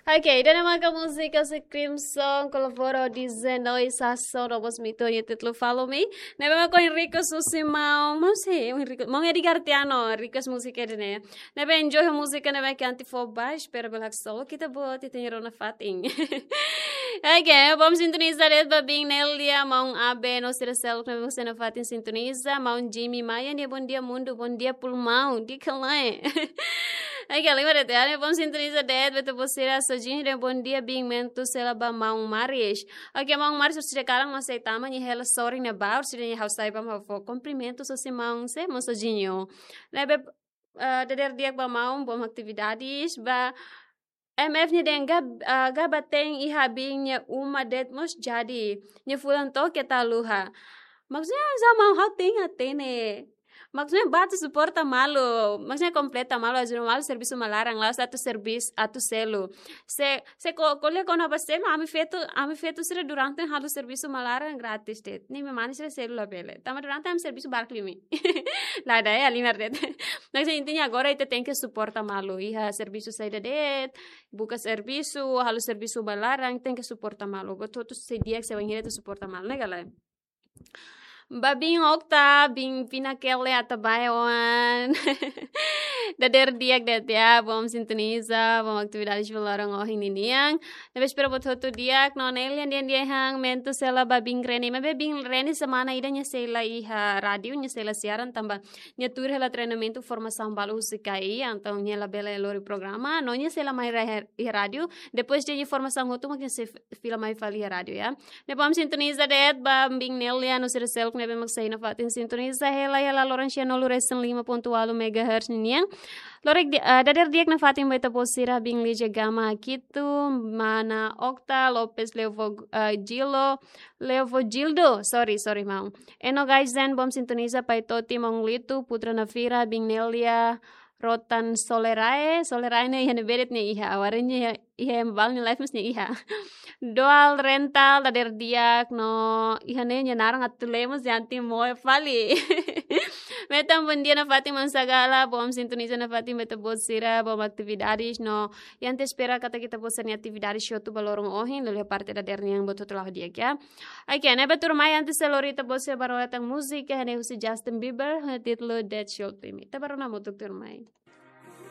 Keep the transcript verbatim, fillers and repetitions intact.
Ok, ida-ne'e maka múzika husi Crimson, kolabora ho D J Noise, Sasson, no mós Mito nia títulu Follow Me. Ne'ebé mak ohin request husi maun, maun sé, ohin request, maun Edgar Tiano, request múzika ida-ne'e. Ne'ebé enjoy ho múzika ne'ebé ke anti fó ba, espera bele haksolok ita-boot, ita-nia rona fatin. Ok, bom sintoniza de'it ba biin Nelia, maun Abe, no sira seluk ne'ebé mak sei nafatin sintoniza, maun Jimmy Maia, nia bom dia mundu, bom dia pulmaun, di kalae. Ok, lima de'it ya, ne'e bom sintoniza de'it, ba ita-boot sira Sojinho, nia bom dia, biin Mentu, sela ba maun Maris. Ok, maun Maris, sira kalan, mas sei tama, nia hela sorin ne'ebá, sira nia ha'u sai ba, ha'u fó kumprimentu, husi maun sé, maun Sojinho. Ne'ebé, eh, dadeer di'ak ba maun, bom atividades, ba M F nia dehan ga, eh, ga baten iha biin nia uma de'it mós jadi. Nia fulan to'o keta luha. Maksudnya, za maun ha'u tenke hatene. Maksudnya, ba atu suporta malu. Maksudnya, kompleta malu, ajuda malu, servisu mak laran, la'ós atu servis, atu selu. Se, se ko, ko'alia kona-ba selu, ami feto, ami feto sira durante halo servisu mak laran gratis de'it. Ne'e ema mane sira selu labele. Tanba durante ami servisu barak liu imi. La daya, lima de'it. Maksudnya, intinya agora ita tenke suporta malu. Iha servisu saida de'it, buka servisu, halo servisu mak laran, tenke suporta malu. Buat hotu sei di'ak, sei bainhira ita suporta malu, ne'e ka lae? Ba biin Okta, biin Pina Kele Atabae oan. Dadeer di'ak de'it ya, bom sintoniza, bom atividades ba loron ohin ninian. Ne'ebé espera buat hotu di'ak, no Nelia nian dehan, Mentu sela ba biin Reni. Maibé biin Reni semana ida nia sei la iha rádiu, nia sei la siaran tanba nia tuur hela treinamentu formasaun balu husi K I, entaun nia labele lori programa, no nia sei la mai iha, iha rádiu, depois de nia formasaun hotu mak nia sei fila mai fali iha rádiu ya. Ne'e bom sintoniza de'it ba biin Nelia no sira seluk ne'ebé mak sei nafatin sintoniza hela iha laloran sianulu resin lima pontu ualu megahertz ninian. Lorik di, eh, dadeer di'ak nafatin ba ita-boot sira biin Lija Gama Kitu, mana Okta, Lopes Leovo, eh, Gilo, Leovogildo, sorry, sorry, maun. Eno Gaizen, bom sintoniza, Pai Toti, maun Litu, Putra Navira, biin Nelia, Rotan Solerae, Solerae ne'e iha ne'ebé de'it nia iha, agora nia iha, iha ema balu nia live mós nia iha. Dual Rental, dadeer di'ak, no iha ne'e nia naran atu lee mós nia anti moe fali. Metan bom dia nafatin maun Sagala, bom sintoniza nafatin ba ita-boot sira, bom atividades, no ita espera katak ita-boot sira-nia atividades hotu ba loron ohin, liuliu parte dadeer nian buat hotu la'o di'ak ya. Ok, ne'ebé tuirmai antes de lori ita-boot sira ba rona tan múzika, ne'e husi Justin Bieber, ho títulu That Should Be Me. Ita ba rona hamutuk tuirmai.